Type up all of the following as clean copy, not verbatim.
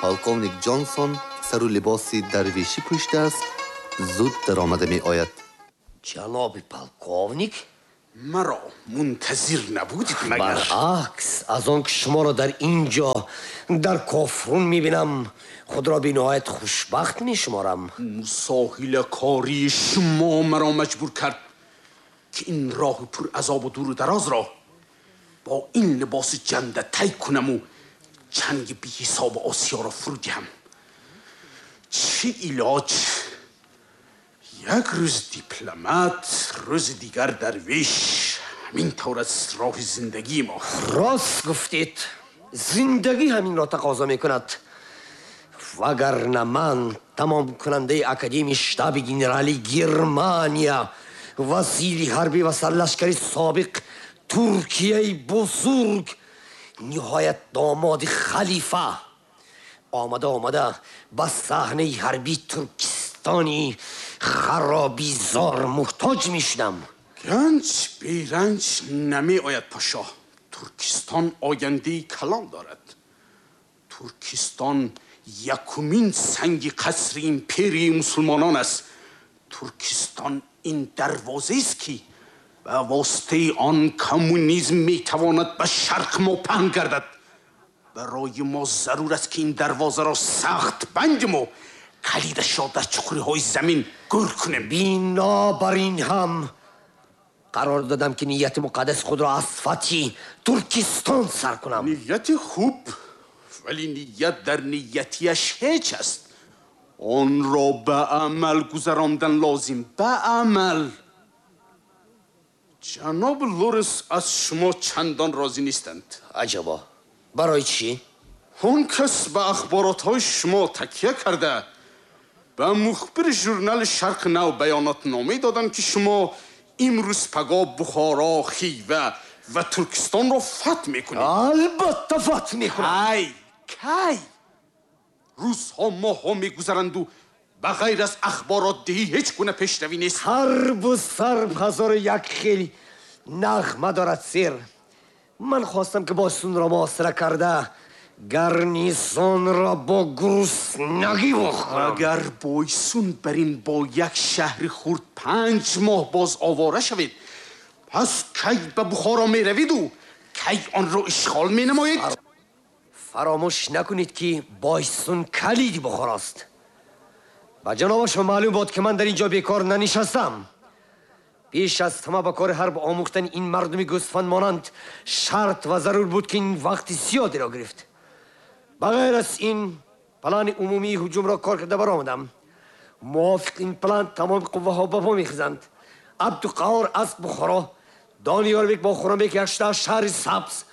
Полковник Ҷонсон сару либоси дарвешӣ пӯшидааст, зуд даромада меояд. Ҷаноби полковник, маро мунтазир набудед магар? Баръакс, аз он ки шуморо дар ин ҷо дар Кофрун мебинам, худро бениҳоят хушбахт мешуморам. Мусоҳилакории шумо маро маҷбур кард, ки ин роҳи пуразобу дуру дарозро бо ин либоси ҷанда тай кунаму чанги беҳисоби осиёро фурӯ диҳам. Чӣ илоҷ? Як рӯз дипломат, рӯзи дигар дарвеш. Ҳамин тавр аст роҳи зиндагии мо. Рост гуфтед, зиндагӣ ҳаминро тақозо мекунад. Вагарна ман, тамомкунандаи Академияи штаби генералии Германия, вазири ҳарбӣ ва сарлашкари собиқ Туркияи бузург, ниҳоят домоди халифа, омада омада ба саҳнаи ҳарбии Туркистони харобизор муҳтоҷ мешудам. Ганҷ беранҷ намеояд, пошо. Туркистон ояндаи калон дорад. Туркистон якумин санги қасри империяи мусулмонон аст. Туркистон ин дарвозаест, ки ба воситаи он коммунизм метавонад ба шарқи мо паҳн гардад. Барои мо зарур аст, ки ин дарвозаро сахт бандиму калидашро дар чуқуриҳои замин гӯр кунем. Бинобар ин ҳам қарор додам, ки нияти муқаддаси худро аз фатҳи Туркистон сар кунам. Нияти хуб, вале ният дар ниятияш ҳеҷ аст. Онро ба амал гузарондан лозим, ба амал. Ҷаноби Лоренс аз шумо чандон розӣ нестанд. Аҷабо, барои чӣ? Он кас ба ахборотҳои шумо такя карда, ба мухбири журнали «Шарқи нав» баёнотномае доданд, ки шумо имрӯз пагоҳ Бухоро, Хива ва Туркистонро фатҳ мекунед. Албатта, фатҳ мекунам. Кай, кай? Рӯзҳо, моҳҳо мегузаранду ба ғайр аз ахборотдиҳӣ ҳеҷ гуна пешравӣ нест. Ҳарбу сарб ҳазору як хел нағма дорад, сер. Ман хостам, ки Бойсунро муҳосира карда, гарнизонро бо гуруснагӣ вохӯрам. Агар Бойсун бар ин бо як шаҳри хурд 5 моҳ боз овора шавед, пас кай ба Бухоро меравиду кай онро ишғол менамоед? Фаромӯш накунед, ки Бойсун калиди Бухорост. Ба ҷанобашон маълум бод, ки ман дар ин ҷо бекор нанишастам. Пеш аз ҳама ба кори ҳарб омӯхтани ин мардуми гӯсфанд монанд шарт ва зарур буд, ки ин вақти зиёдеро гирифт. Ба ғайр аз ин, плани умумии ҳуҷумро кор карда баромадам. Мувофиқ ин план тамоми қувваҳо ба по мехезанд. Абдуқаҳор аз Бухоро, Дониёрбек бо Хуррамбек якшуда аз шаҳри Сабз,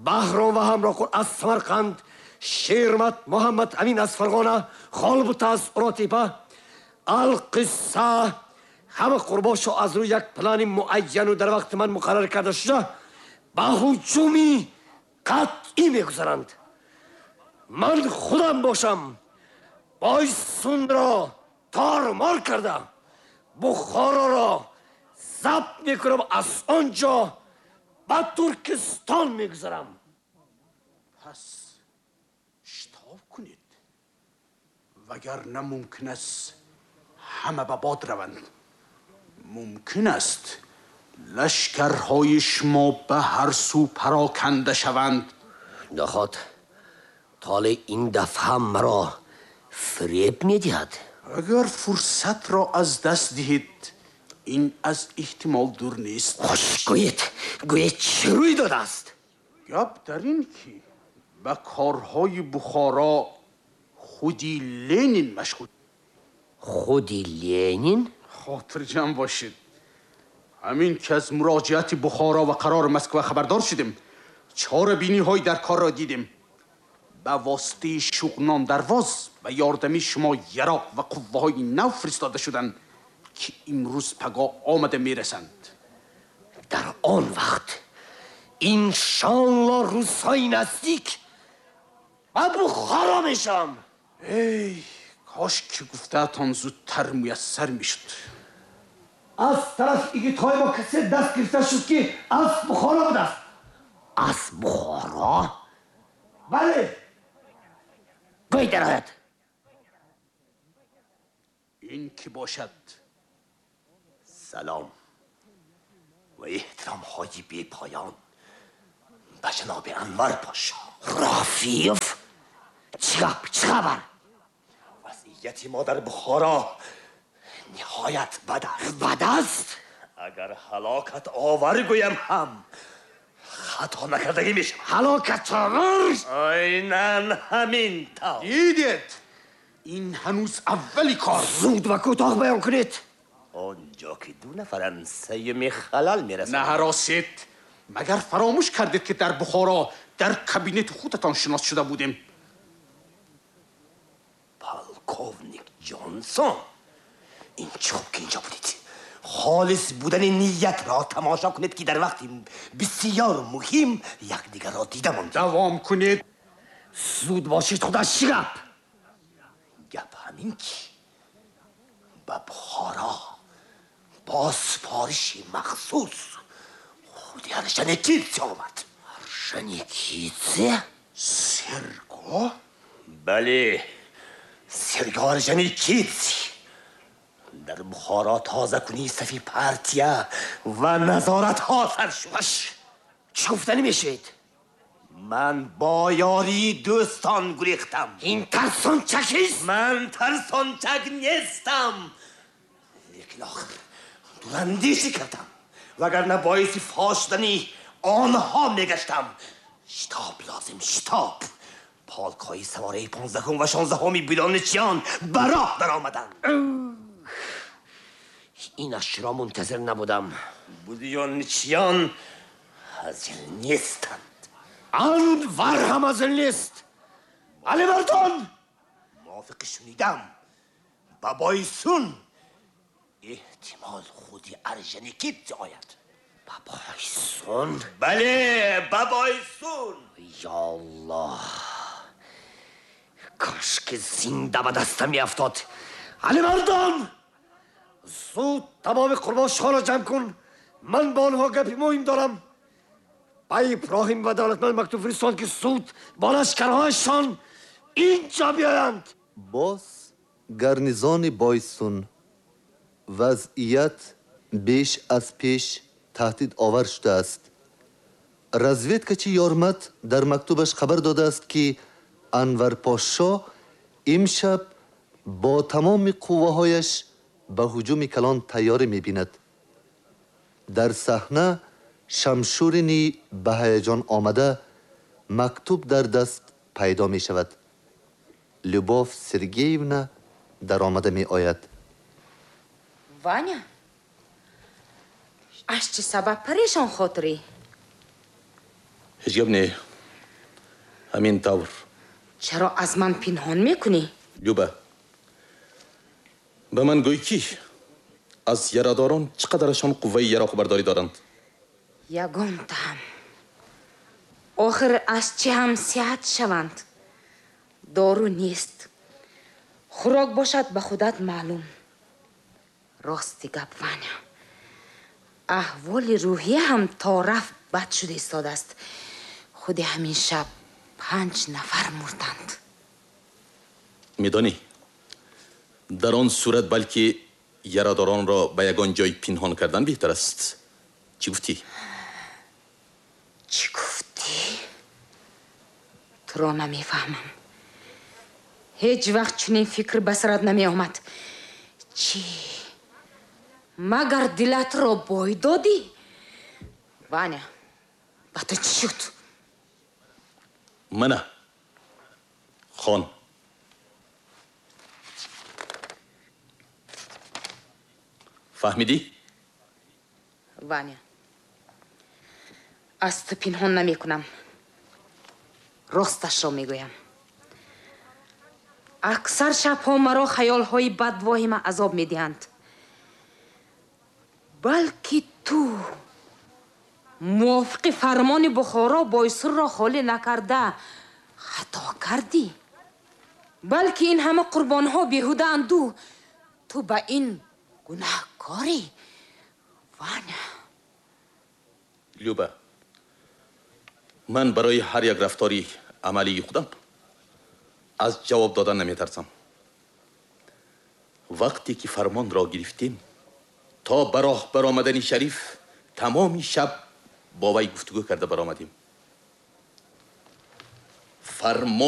Баҳром ва Ҳамроқул аз Самарқанд, Шермат, Муҳаммад Амин аз Фарғона, Холбута аз Уротепа. Алқисса, ҳама қурбошо аз рӯи як плани муайяну дар вақти ман муқаррар карда шуда ба ҳуҷуми қатъӣ мегузаранд. Ман худам бошам, Бойсунро тормор карда, Бухороро забт мекунам, аз он ҷо ба Туркистон мегузарам. Пас шитоб кунед, вагарна мумкин аст ҳама ба бод раванд. Мумкин аст лашкарҳои шумо ба ҳар сӯ пароканда шаванд. Наход толеъ ин дафъа маро фиреб медиҳад? Агар фурсатро аз даст диҳед, ин аз эҳтимол дур нест. Хуш, гӯед, гӯед, чӣ рӯй додааст? Гап дар ин ки ба корҳои Бухоро худи Ленин машғул. Худи Ленин? Хотирҷамъ бошед, ҳамин ки аз муроҷиати Бухоро ва қарори Москва хабардор шудем, чорабиниҳои дар корро дидем. Ба воситаи Шуғнон Дарвоз ба ёрдами шумо яроқ ва қувваҳои нав фиристода шуданд, ки имрӯз пагоҳ омада мерасанд. Дар он вақт иншоалло рӯзҳои наздик ба Бухоро мешавам. Эй кош ки гуфтаатон зудтар муяссар мешуд. Аз тарафи игитҳои мо касе даст гирифта шуд, ки аз Бухоро будааст. Аз Бухоро? Бале. Дарояд. Ин ки бошад? Салом ва эҳтиромҳои бепоён ба ҷаноби Анвар Пошо. Рафиев? Чӣ гап? Чӣ хабар? Вазъияти мо дар Бухоро ниҳоят бад аст. Бад аст? Агар ҳалокат овар гӯям ҳам хато накардагӣ мешавад. Ҳалокат овар? Айнан ҳамин тавр. Дидед? Ин ҳанӯз аввали кор. Зуд ва кӯтоҳ баён кунед. Он ҷо ки ду нафаранд, сеюми халал мерасонад. Наҳаросед. Магар фаромӯш кардед, ки дар Бухоро дар кабинети худатон шинос шуда будем? Полковник Ҷонсон, ин чӣ хуб, ки инҷо будед. Холис будани ниятро тамошо кунед, ки дар вақти бисёр муҳим якдигарро дида мондем. Давом кунед. Зуд бошед, худаш чӣ гап? Гап ҳамин, ки ба Бухоро бо супориши махсус худи Орджоникидзе омад. Орджоникидзе? Серго? Бале, Серго Орджоникидзе. Дар Бухоро тозакунии сафи партия ва назоратҳо сар шуд. Чӣ гуфтанӣ мешавед? Ман бо ёрии дӯстон гурехтам. Ин тарсончакист? Ман тарсончак нестам, лекин охир дурандешӣ кардам, вагарна боиси фош шудани онҳо мегаштам. Шитоб лозим, шитоб. Полкҳои савораи 15-ум ва 16-уми будённичиён ба роҳ даромаданд. Ин ашро мунтазир набудам. Будённичиён ҳазил нестанд. Анвар ҳам ҳазил нест. Алимардон! Мувофиқи шунидам, ба Бойсун эҳтимол худи Орджоникидзе ояд. Ба Бойсун? Бале, ба Бойсун. Ё Аллоҳ, кош ки зинда ба дастам меафтод. Алимардон, зуд тамоми қурбошҳоро ҷамъ кун. Ман бо онҳо гапи муҳим дорам. Ба Иброҳим ва Давлатманд мактуб фиристон, ки зуд бо лашкарҳояшон инҷо биёянд. Боз гарнизони Бойсун. Вазъият беш аз пеш таҳдидовар шудааст. Разведкачи Ёрмат дар мактубаш хабар додааст, ки Анварпошо имшаб бо тамоми қувваҳояш ба ҳуҷуми калон тайёрӣ мебинад. Дар саҳна Шамшурини ба ҳаяҷон омада, мактуб дар даст пайдо мешавад. Любовь Сергеевна даромада меояд. Ваня, аз чӣ сабаб парешон хотирӣ? Ҳеҷ гап не, ҳамин тавр. Чаро аз ман пинҳон мекунӣ? Люба, ба ман гӯй, ки аз ярадорон чӣ қадарашон қувваи яроқбардорӣ доранд? Ягонтаам. Охир аз чӣ ҳам сиҳат шаванд? Дору нест, хӯрок бошад, ба худат маълум. Рости гап, Ваня, аҳволи рӯҳия ҳам то рафт бад шуда истодааст. Худи ҳамин шаб панҷ нафар мурданд. Медонӣ, дар он сурат балки ярадоронро ба ягон ҷой пинҳон кардан беҳтар аст. Чӣ гуфтӣ? Чӣ гуфтӣ? Туро намефаҳмам. Ҳеҷ вақт чунин фикр ба сарат намеомад. Чӣ, магар дилатро бой додӣ? Ваня, ба ту чӣ шуд? Мана, хон. Фаҳмидӣ? Ваня, аз ту пинҳон намекунам, росташро мегӯям. Аксар шабҳо маро хаёлҳои бадвоҳима азоб медиҳанд. Балки ту мувофиқи фармони Бухоро Бойсурро холӣ накарда хато кардӣ. Балки ин ҳама қурбонҳо беҳудаанду ту ба ин гунаҳкорӣ, Ваня. Люба, ман барои ҳар як рафтори амалии худам Аз ҷавоб додан наметарсам. Вақте ки фармонро гирифтем, то ба роҳ баромадани Шариф тамоми шаб бо вай гуфтугӯ карда баромадем. Фармони